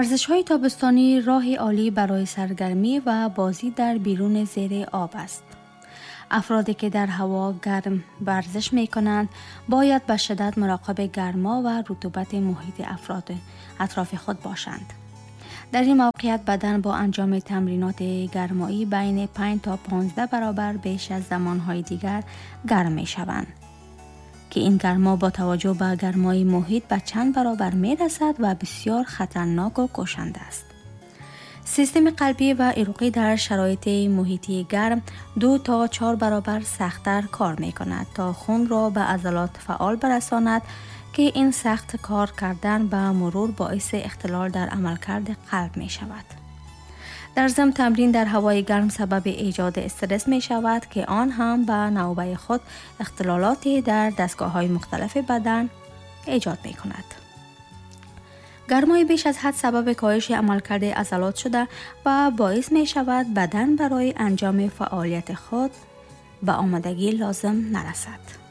ورزش های تابستانی راه عالی برای سرگرمی و بازی در بیرون زیر آب است. افرادی که در هوا گرم ورزش می کنند باید به شدت مراقب گرما و رطوبت محیط افراد اطراف خود باشند. در این موقعیت بدن با انجام تمرینات گرمایی بین 5 تا 15 برابر بیش از زمانهای دیگر گرم می شوند که این گرما با توجه به گرمای محیط به چند برابر می رسد و بسیار خطرناک و کشنده است. سیستم قلبی و عروقی در شرایط محیطی گرم 2 تا 4 برابر سخت‌تر کار می کند تا خون را به عضلات فعال برساند که این سخت کار کردن به مرور باعث اختلال در عملکرد قلب می شود. در ضمن تمرین در هوای گرم سبب ایجاد استرس می شود که آن هم به نوبه خود اختلالاتی در دستگاه های مختلف بدن ایجاد می کند. گرمای بیش از حد سبب کاهش عملکرد عضلات شده و باعث می شود بدن برای انجام فعالیت خود به آمادگی لازم نرسد.